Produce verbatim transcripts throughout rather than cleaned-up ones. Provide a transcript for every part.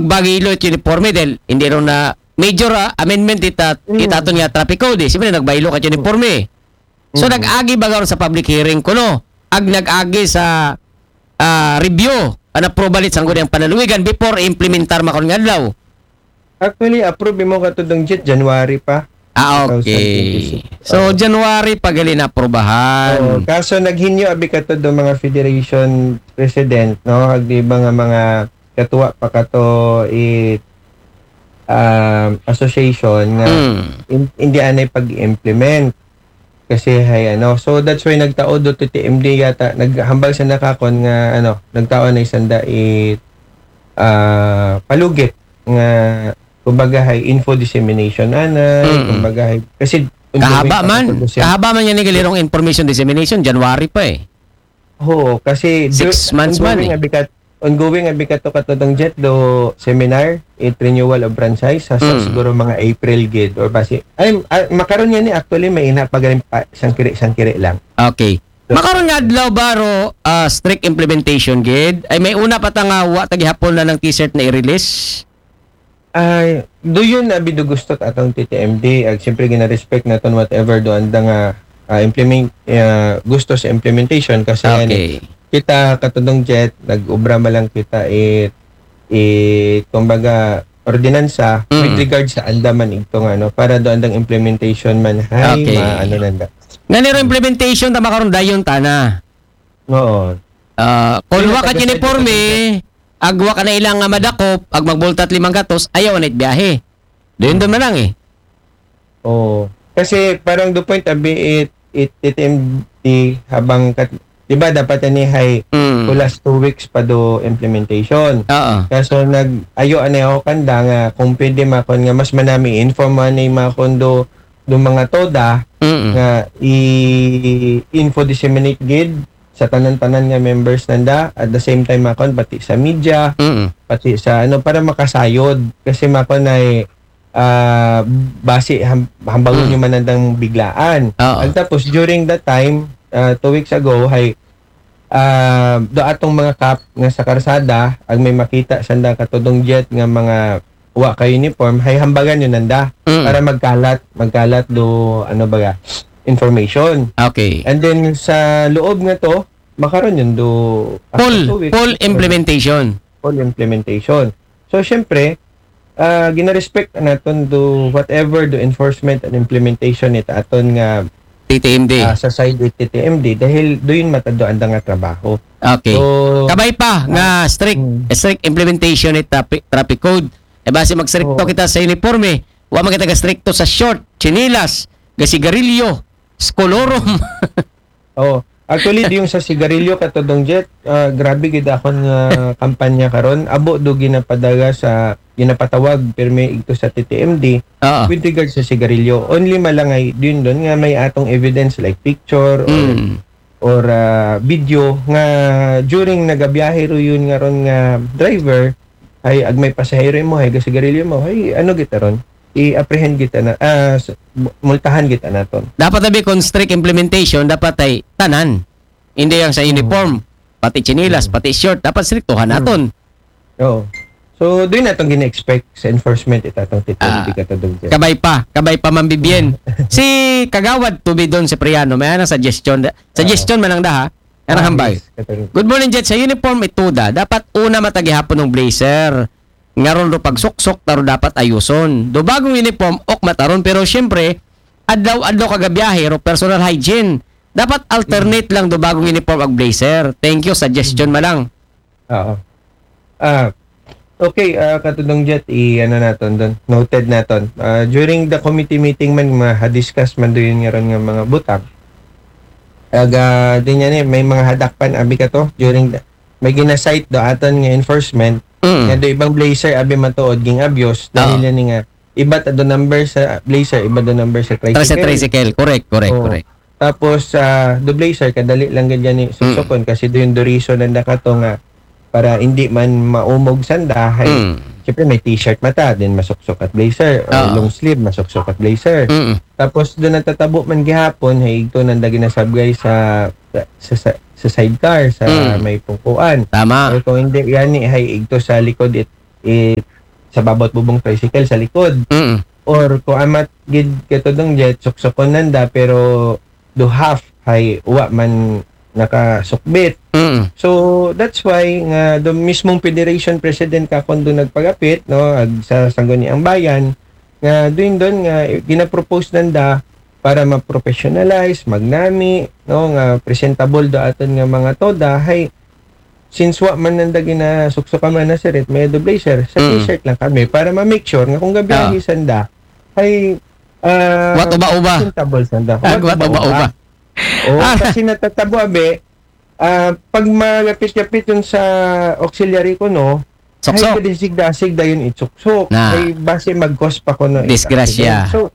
Bagay ilo it uniforme dahil hindi ron na major, ah, amendment ita, Mm. ita aton nga traffic code, eh. Siyempre, nagbaylo ka uniforme. So, Mm. nag-agi ba karon sa public hearing kuno? Ag nag-agi sa, ah, review, an approval it sangguniang panaluwigan before implementar makaron nga adlaw? Actually, approve mo katudong Jet, January pa. Ah, okay. Two thousand twenty-six. So, Oo. January pa gali na aprubahan. Oo, kaso naghinyo abi katudong mga federation president, no? Ag di ba nga mga katuwa pa kato it, um, association nga Mm. in-, hindi anay pag-implement. Kasi hay ano, so that's why nagtaod do T T M D yata, naghambal sanda kakon nga ano, nagtaod na sanda it, ah, palugit nga kumbaga hay info dissemination anay, Mm. kumbaga hay, kasi Kahaba ongoing pa man. kato do siya. Kahaba man yan ni galirong information dissemination, January pa eh. Oo, kasi Six du-, months man ongoing eh. abi kat-, ongoing abi kato katudong Jet do seminar, it renewal of franchise, sa, sa Mm. siguro mga April gid or basi. Ay, ah, makaron yan ni actually may ina pa galing pa, sangkiri-sangkiri lang. Okay. So, Makaron nga adlaw ba ro, ah, strict implementation gid? Ay, may una pa ta nga wa ta gihapon na ng T-shirt na i-release? Ay, do yun abi do gusto ta atong T T M D, ag siyempre gina-respect naton whatever do anda nga, ah, implement, ah, gusto sa implementation kasi ano, Okay. kita katudong Jet, nag-ubra man lang kita it, it, kumbaga, ordinansa with Mm. regard sa anda man igto nga, ano, para do andang implementation man, hay, Okay. ma-, ano nanda. Nga niro implementation, tama karon dayon tana. Oo. Ah, kung Sino wa ka taga uniforme, Santa Cruz? Ag wa ka na ilang nga madakop, ag magbultat limang gatos, ayaw na it biyahe. Doon doon man lang eh. Oo. Kasi parang do point abi it, it, it M D habang kat-, di ba dapat ani hay Mm. kulas two weeks pa do implementation. Oo. Kaso nag-ayo ani ako kanda nga kung pwede makon nga mas manami inform ani makon do, do mga toda Mm. nga i-info disseminate gid sa tanan-tanan nga members nanda at the same time makon pati sa media, Mm. pati sa ano para makasayod kasi makon ay ah, basi ham-, hambagon Mm. nyo man andang biglaan. Oo. Ag tapos, during that time, ah, two weeks ago, hay, ah, do atong mga kap nga sa karsada, ag may makita sanda katudong Jet nga mga wa ka uniform, hay hambagan nyo nanda Mm. para magkalat, magkalat do, ano ba, information. Okay. And then, sa loob nga to, makaron yun do after Full, two weeks, full makaron. Implementation. Full implementation. So, syempre, ah, gina-respect naton do whatever do enforcement and implementation it aton nga, T T M D. ah, sa side it T T M D dahil do yun matado anda nga trabaho. Okay. So, Kabay pa nga ah, strict, mm. strict implementation it traffic, traffic code. E basi magstrikto Oo. kita sa uniforme, wa man kita gastrikto sa short, tsinelas, gasigarilyo, skolorum. Oo. Actually, di yung sa sigarilyo katudong Jet, ah, grabe gid akon nga kampanya karon. Abo do ginapadaga sa, ginapatawag pirmi igto sa T T M D Oo. with regard sa sigarilyo. Only malangay din doon nga may atong evidence like picture or, Mm. or, ah, video nga during nagabiyahe ro yun nga ron nga driver, ay ag may pasahero mo, hay gasigarilyo mo, hay ano kita ron? I-apprehend kita na, ah, s-, mu-, multahan kita naton. Dapat abi kung strict implementation, dapat ay tanan. Hindi ang sa Mm. uniform, pati tsinelas, Mm. pati short, dapat striktuhan Mm. naton. Oo. So, doon naton gina-expect sa enforcement it atong T T M D Ah, katudong Jet. Kabay pa, kabay pa, Ma'am Vivian. Mm. Si Kagawad Tubidon Cipriano, may anang suggestion da-, suggestion Oo. man lang da, ha? Anang Ah, hambal. Yes, katudong. Good morning, Jet. Sa uniform ito da, dapat una matagihapon ng blazer. Ngaron ro pagsuksok, taro dapat ayuson. Do bagong uniform, ok mataron, pero siyempre, adlaw-adlaw kagabiyahe ro personal hygiene. Dapat alternate Mm. lang do bagong uniform ag blazer. Thank you, suggestion Mm. man lang. Oo. Ah, okay, ah, katudong Jet, i-ano naton doon. Noted naton. Ah, during the committee meeting man, ma-discuss man do yun nga ron nga mga butang. Aga, din yan eh, may mga hadakpan, abi ka to, during the, may ginasight do aton nga enforcement, Mm. nga do ibang blazer, abi matuod, ging abuse, dahil Oo. yan nga, iba ta do number sa blazer, iba do number sa Sa tricycle. tricycle, correct, correct, Oo. correct. Tapos, ah, do blazer, kadali lang gid yan eh, Mm. suksukon, kasi do yung do reason nanda kato nga, para hindi man maumog sanda, hay, Mm. siyempre may t-shirt mata, din masuksok at blazer, or Oo. long sleeve, masuksok at blazer. Mm. Tapos, do natatabo man gihapon, hay, igto nanda ginasabgay sa, sa, sa, sa sidecar, sa Mm. may pungkuan. Tama. Or kung hindi, gani, hay, igto sa likod it, i-, sa babot bubong tricycle sa likod. Mm. Or kung amat gid katudong jet, suksukon nanda, pero do half, hay wa man nakasukbit. Mm. So that's why nga do mismong federation president ka kundo nagpagapit, no, ag sa Sangguniang Bayan, nga doon doon nga ginapropose nanda para ma-professionalize, magnami, no, nga presentable do aton nga mga toda, hay since wa man nanda ginasuksukan man na sirit, may do blazer, sa Mm. t-shirt lang kami para ma-make sure nga kung gabiyahe sanda, hay ah, Wat uba-uba. presentable sanda. Ag wat uba-uba. Oo, Ah. Kasi natatabo, abi, ah, pag malapit-lapit yun sa auxiliary ko, no, Suksok. Ay, kadisig-dasig dayon itsuksok. Na. Ay, base mag-cause pa ko no Disgrasya. So,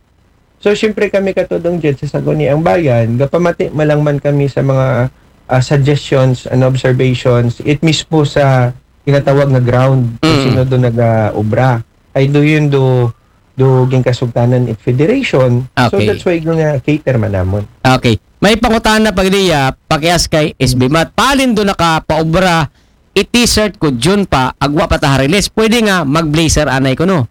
so siyempre kami katudong jet sa Sangguniang Bayan, gapamati malang man kami sa mga ah, suggestions and observations, it mismo sa ginatawag nga ground, kung Mm. sino do nag-obra. Ay do yun do, do ginkasugtanan it federation. So Okay. That's why nga cater man namon. Okay. May pangutana pa gid iya, pakias kay S B Mat. Palin do nakapaobra, i-t-shirt ko June pa, agwa pa ta release. Pwede nga mag-blazer anay ko, no?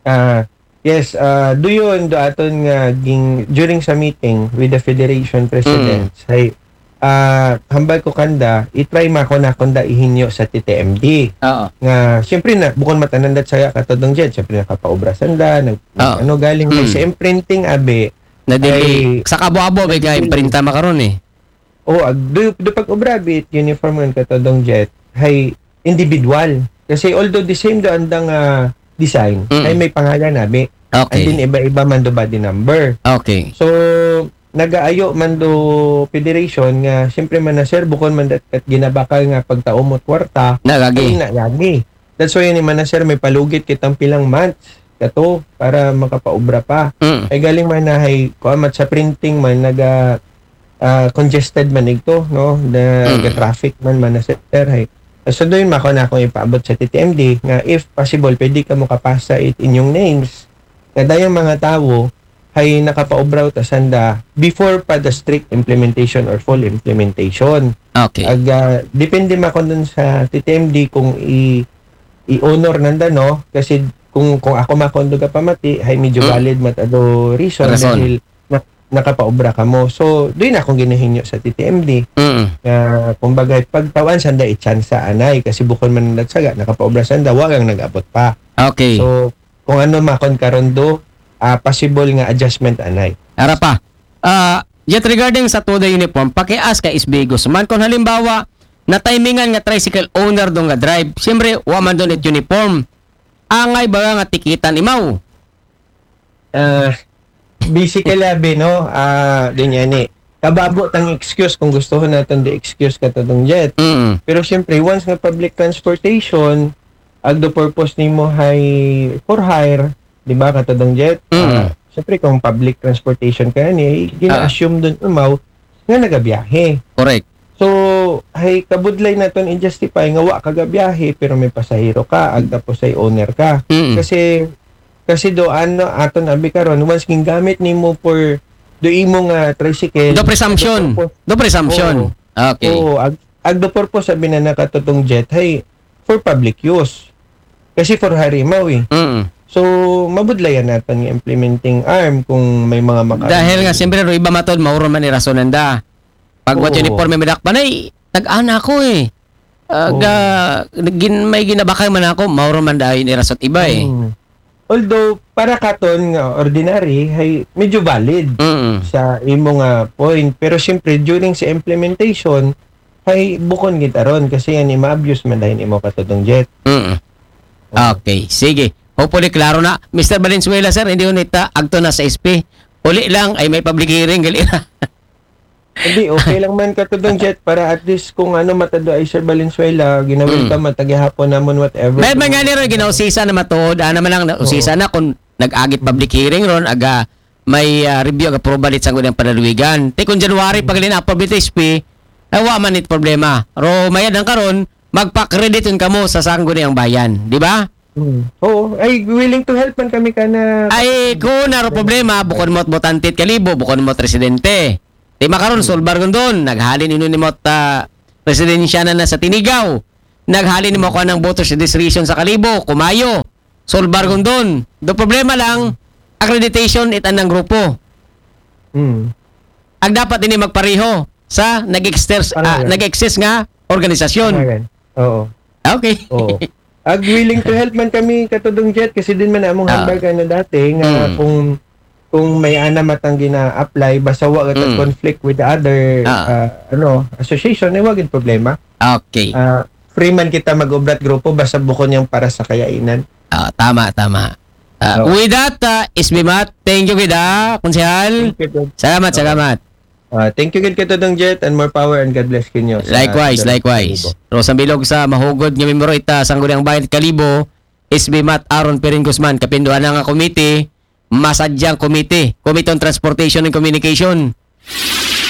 Ah, yes, ah, do yun, do aton nga ging, during sa meeting with the federation presidents, hay ah, hambal ko kanda, i-try ma ko na kunda ihinyo sa T T M D. Oo. Nga, siyempre na, bukon matanan dat saya katudong jet, siyempre nakapaobra sanda, nag, Oo. ano galing, Mm. sa imprinting abi, Na dili, Ay, sa kabo-abo, may dili. imprinta makaron eh. O, ag, do, do pag-obra bit, uniform man katudong jet, hay individual. Kasi although the same do andang ah, design, Mm. ay may pangalan abi. Okay. And then iba-iba man do body number. Okay. So, nagaayo man do federation nga, siyempre man na sir, bukon man dat kat ginabakal nga pagtaumot kwarta, Nagagi. ay nagagi. That's why ni man na sir, may palugit kitang pilang months kato para makapaobra pa. Mm. Ay galing man na hay kuamat sa printing man naga ah, congested man igto, no? The, Mm. the traffic man man na sir, hay. So doon mako na akong ipaabot sa T T M D nga if possible pwede ka mo kapasa it inyong names nga dayang mga tawo hay nakapaobraw ta sanda before pa the strict implementation or full implementation. Okay. Ag ah, depende man ko dun sa T T M D kung i i-honor nanda, no? Kasi kung kung ako makondo ka pamati, hay medyo Mm. valid mat ado reason Rason. Dahil na, nakapaobra ka mo. So, doon akong ginahinyo sa T T M D. Mm. Nga, kumbaga, pagtawan sanda itsansa anay kasi bukon man nagsaga, nakapaobra sanda, wagang nag-abot pa. Okay. So, kung ano makon karon do, ah, possible nga adjustment anay. Ara pa. Ah, yet regarding sa toda uniform, pakias kay S B Guzman, kung halimbawa, na timingan nga tricycle owner do nga drive, siyempre, wa man doon it uniform. Angay ba nga tikitan imaw? Ah, basically, abi, no? Ah, din yan eh. Kababo tang excuse kung gusto natin the excuse katudong jet. Mm. Pero siyempre, once nga public transportation, ag the purpose nimo hay for hire, di ba, katudong jet? Mm. Ah, siyempre, kung public transportation ka ni, gina-assume dun umaw nga nagabiyahe. Correct. So, hay kabudlay naton i-justify nga wa ka gabiyahe pero may pasahero ka, ag tapos ay owner ka. Mm. Kasi kasi do ano aton abi karon, once gingamit nimo for do imo nga tricycle. Do presumption. Purpose. Do presumption. Oo. Okay. Oo, ag, ag the purpose abi na nakatutong jet hay for public use. Kasi for hire imaw eh. Mm. So, mabudlayan natin nga implementing arm kung may mga maka- Dahil nga, siyempre, ro iba matod, mauro man irason nanda. Pag what Oo. Uniforme madakpan ay, nag-ana ako eh. Ah, Oo. ga-, gin-, may ginabakal man ako, mauro man dahil irasot iba eh. Mm. Although, para katon nga ordinary, hay medyo valid Mm. sa imo nga point. Pero siyempre, during sa implementation, hay bukon gitaron kasi yan, ma-abuse man dahil imo katutong jet. Mm. Okay, sige. Hopefully, klaro na. Mister Valenzuela, sir, hindi unita, agto na sa S P. Uli lang, ay may public hearing, gali na. Hindi, okay lang man katutong jet para at least kung ano matado ay Sir Valenzuela, ginawin Mm. ka matagihapon namon whatever. Dahil man nga niro, ginausisa na matuod, ana man lang, na, usisa na kung nag-agit public hearing ron, aga may ah, review, aga approval it sangguniang panalwigan. Te kung January, pag linapab it S P, nawa man it problema. Ro, mayad ang karon, magpa-credit yun kamo sa sangguniang bayan, di ba? Mm. Oo, ay willing to help man kami ka na. Ay, kung naro problema, bukod mo't botante it kalibo, bukod mo't residente. Di makaron, solbar kun doon, naghalin ino ni mo't ah, residensya na na sa Tinigaw. Naghalin mo ko ng voters registration sa Kalibo, Kumayo, Solbar, Gondon. Do problema lang, accreditation it anang grupo. Mm. Ag dapat ini magpareho sa nag-exist, ah, Tama. nag-exist nga organisasyon. Tama yan. Oo. Okay. Oo. Ag willing to help man kami katudong Jet kasi din man among Ah. handbag ano dati nga Mm. kung kung may ana matang gina-apply basta wa ka Mm. conflict with the other Ah. ah, ano association eh wagin problema. Okay. Ah, free man kita mag-obrat grupo basta bukon yang para sa kayainan. Ah, tama, tama. Ah, Oo. With that, uh, S B Mat, thank you kita, konsehal. Thank you, Jet. Salamat, salamat. Ah, thank you gid katudong Jet and more power and God bless kinyo. sa Likewise, Kalibo. likewise. Rosa Bilog sa mahugod nga membro ita Sangguniang Bayan Kalibo, S B Mat Aaron Perin Guzman, kapinduan na nga komite, masadyang komite, Committee on Transportation and Communication.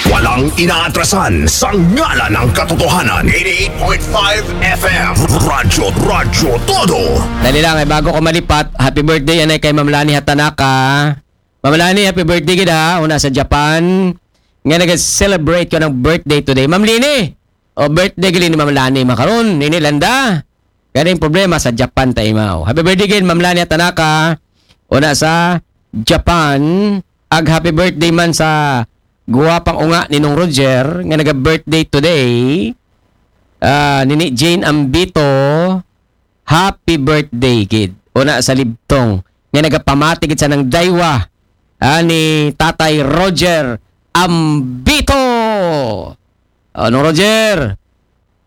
Walang inaatrasan sa ngalan ng katotohanan. eighty-eight point five F M. Radyo, Radyo Todo. Dali lang, ay bago ko malipat, happy birthday anay kay Ma'am Lani Hatanaka. Ma'am Lani, happy birthday gid ha, una sa Japan. Nga nag-celebrate ko ng birthday today. Ma'am Lini, o birthday gid ni Ma'am Lani makaron, nini landa. Ganing problema sa Japan ta imaw. Happy birthday gid, Ma'am Lani Hatanaka. Una sa Japan, ag happy birthday man sa guwapang unga ni Nong Roger nga naga-birthday today. Ah, nini Jane Ambito, happy birthday gid. Una sa Libtong nga nagapamati gid sa nang daywa, ah, ni Tatay Roger Ambito. Oh, Nong Roger,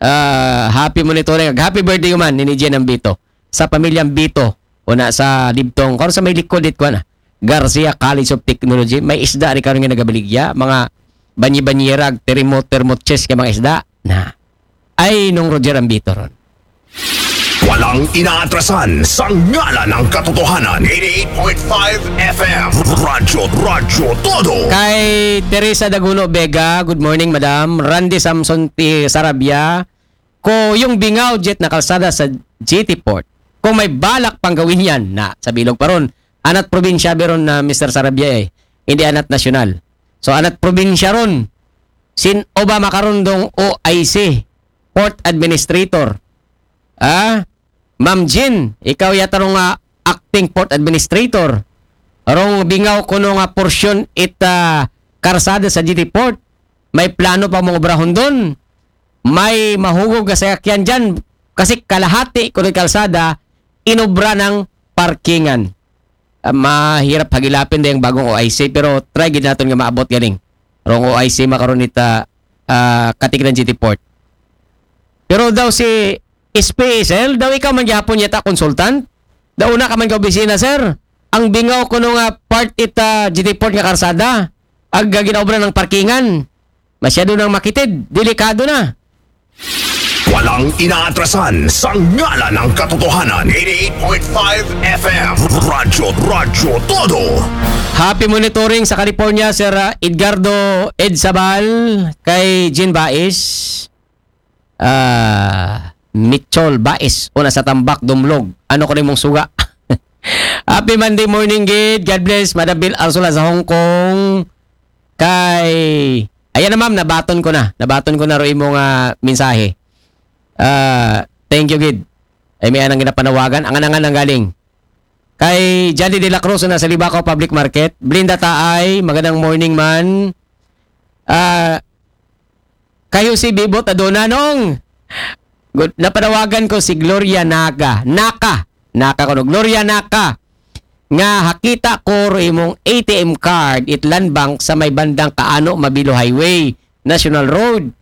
ah, happy mo nito rin. Happy birthday man ni Jane Ambito. Sa pamilya Ambito, una sa Libtong. Karon sa may likod it kuan na. Garcia College of Technology. May isda ni karon nga nagabaligya. Mga banyi-banyera, termo, termo chest kay mga isda. Na. Ay, Nong Roger Ambito ron. Walang inaatrasan sa ngalan ng katotohanan. eighty-eight point five F M. Radyo, Radyo Todo. Kay Teresa Daguno Vega, good morning, madam. Randy Samson T. Sarabia, ko yung bingaw jet na kalsada sa G T Port. Kung may balak pang gawin yan, na sa bilog pa ron. Anat probinsya beron na Mister Sarabia eh. Hindi anat nasyonal. So anat probinsya ron. Sin Obama karundong O I C, Port Administrator. Ah, Ma'am Jean, ikaw yata rong ah, acting port administrator. Rong bingaw kuno nga porsyon it ah, karsada sa G T Port. May plano pa mong obrahon doon. May mahugog nga sayakyan dyan. Kasi kalahati kuno kalsada, inobra ng parkingan. Ah, mahirap hagilapin dayang bagong O I C, pero try gid naton nga maabot ganing. Rong O I C makaron ita ah, Katiklan G T Port. Pero daw si S P S L, daw ikaw man gihapon yata consultant. Daw una ka man ka opisina, sir. Ang bingaw kuno nga part ita G T Port nga karsada. Ag ginaobra ng parkingan. Masyado nang makitid. Delikado na. Walang inaatrasan sa ngalan ng katotohanan. eighty-eight point five F M. Radyo, Radyo Todo. Happy monitoring sa California, Sir ah, Edgardo Ed Sabal, kay Jean Bais, ah, Mitchell Bais, una sa Tambak, Dumlog. Ano ko rin mong suga? Happy Monday morning, gid. God bless, Madam Bill Arsola sa Hong Kong. Kay, ayan na ma'am, nabaton ko na. Nabaton ko na ro imong ah, mensahe. Ah, thank you, gid. Ay, may anang ginapanawagan. Ang anangan ang galing. Kay Johnny De La Cruz na sa Libacao Public Market. Blinda Taay, magandang morning man. Ah, kayo si Bibot Adona nung good, napanawagan ko si Gloria Naga. Naka. Naka ko no. Gloria Naka. Nga hakita ko ro imong A T M card it Land Bank sa may bandang Kaano Mabilo Highway, National Road.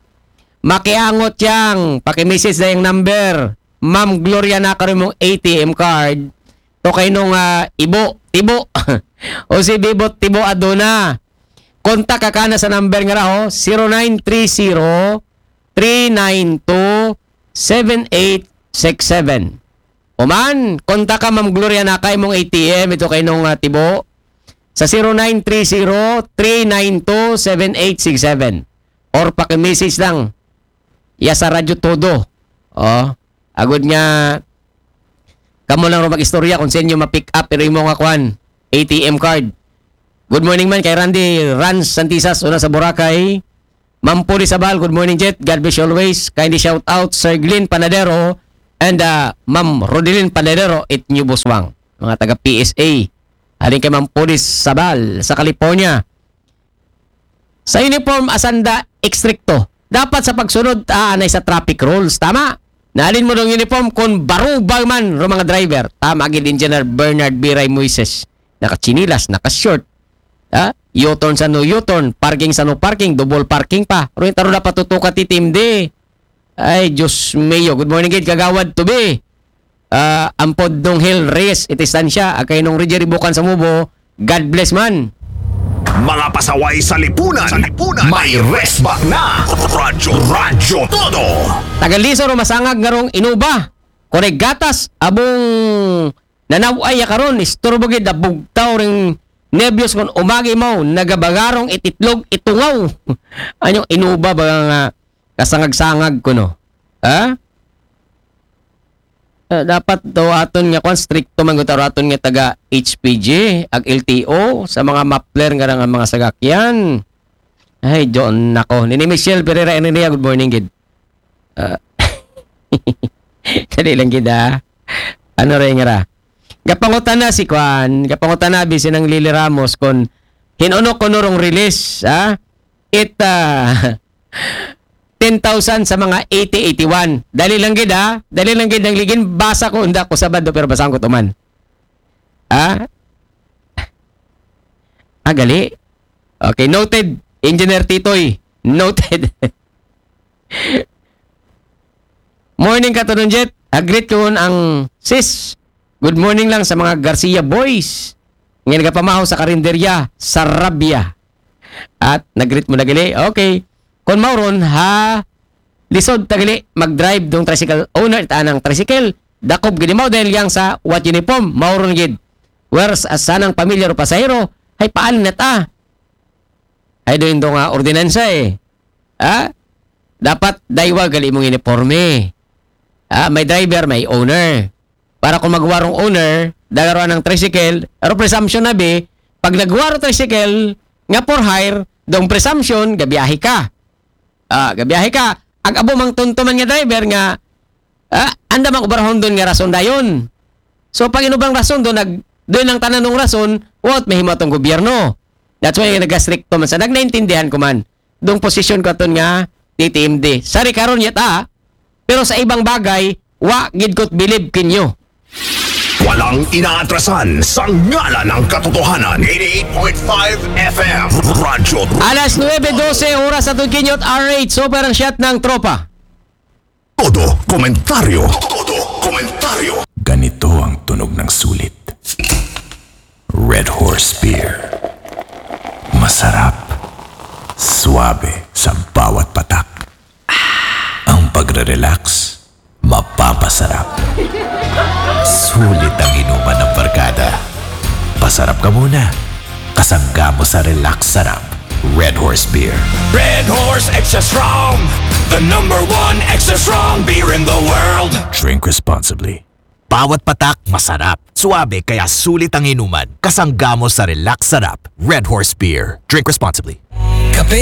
Makiangot yang, pakimessage na yung number. Ma'am Gloria Naka ro imong A T M card. To kay nung ah, Ibo, Tibo. O si Bibo Tibo Aduna. Kontak ka kana sa number nga raho, zero nine three zero, three nine two, seven eight six seven. O man, kontak ka Ma'am Gloria Naka imong A T M, ito kay nung ah, Tibo. Sa zero nine three zero, three nine two, seven eight six seven. Or pakimessage lang. Ya sa Radyo Todo. Oh, agud nga kamo lang ro mag-istorya kung sa inyo ma-pick up pero imo nga kwan, A T M card. Good morning man kay Randy Rans Santisas, una sa Boracay. Ma'am Puri Sabal, good morning, Jet. God bless you always. Kindly shout out Sir Glenn Panadero and uh, Ma'am Rodelyn Panadero, it New Buswang. Mga taga P S A. Halin kay Ma'am Puri Sabal sa California. Sa uniform, asanda ekstrikto. Dapat sa pagsunod, aanay sa traffic rules. Tama? Naalin mo ng uniform kung barubal man ro mga driver. Tama gid Engineer Bernard Biray Moises. Nakatsinilas, naka-short. Ha? U-turn sa no U-turn, parking sa no parking, double parking pa. Ruin taro na patutuka ti timdi. Ay, Diyos mio. Good morning, gid, Kagawad Tubi. Ah, ampod nung Hill Reyes, iti Estancia, akay nung Rijeribukan sa Mubo, God bless man. Mga pasaway sa lipunan. Sa lipunan. May resback na. Radyo, Radyo Todo. Tagaliso ro masangag nga rong inuba. Kore gatas, abong nanaway ya karon, isturbo gid abugtaw ring nebyos kon umagi mo, nagabagarong ititlog itungaw. Anyong inuba ba nga kasangag-sangag kuno? Ha? Eh, dapat daw aton nga kwan, stricto man gud aton nga taga H P G, ag L T O, sa mga muffler nga nga mga sagakyan. Ay, John, nako. Nini Michelle Pereira Enria, good morning, gid. Ah, dali lang gid, ah. Ano rin nga ra? Gapangutana si kwan, gapangutana bi sinang Lily Ramos kon hinuno kuno rong release, ha? It, ah, ten thousand sa mga eighty eighty-one. Dali lang gid, ha? Dali lang gid ang ligin. Basa ko, unda ko Sabado, pero basang ko tuman. Ha? Ah, gali? Okay, noted. Engineer Titoy, noted. Morning, Katunon Jet. Agreet ko ang sis. Good morning lang sa mga Garcia boys. Nga nagapamahaw sa karinderya, sa Rabia. At nagreet mo na gali. Okay. Kon mauron, ha, lisod tagali, mag-drive dong tricycle owner, ita anang tricycle, dakob gid mo dahil yang sa what uniform, mauron gid. Whereas, as sanang pamilya ro pasahero, hay paan na ta? Ay, doon nga ordinansa eh. Ha? Dapat daywa gali mong uniforme. Ha? May driver, may owner. Para kung magwarong owner, dagaro ng tricycle, pero presumption na bi, pag nagwaro tricycle, nga for hire, dong presumption, gabiyahe ka. Ah, gabiyahe ka. Ag abo mang tuntuman nga driver nga, ah, anda mang ubarahon doon nga rason dayon. So, pag inubang rason doon, nag, doon ang tananong rason, what, mahimo atong gobyerno. That's why nagastrikto man sa, nagnaintindihan ko man. Dong posisyon ko aton nga T T M D. Sari karon yata, pero sa ibang bagay, wa gid ko't bilib kinyo. Walang inaatrasan sa ngalan ng katotohanan. eighty-eight point five F M. Radyo. Alas nuebe dose, oras sa Tudkinyot, R H, super ang shot ng tropa. Todo komentaryo. Todo komentaryo. Ganito ang tunog ng sulit. Red Horse Beer. Masarap. Suabe sa bawat patak. Ang pagre-relax, mapapasarap. Sulit ang inuman ng barkada. Pasarap ka muna. Kasangga mo sa relax sarap. Red Horse Beer. Red Horse Extra Strong, the number one extra strong beer in the world. Drink responsibly. Bawat patak, masarap. Suabe, kaya sulit ang inuman. Kasangga mo sa relax sarap. Red Horse Beer. Drink responsibly. Kape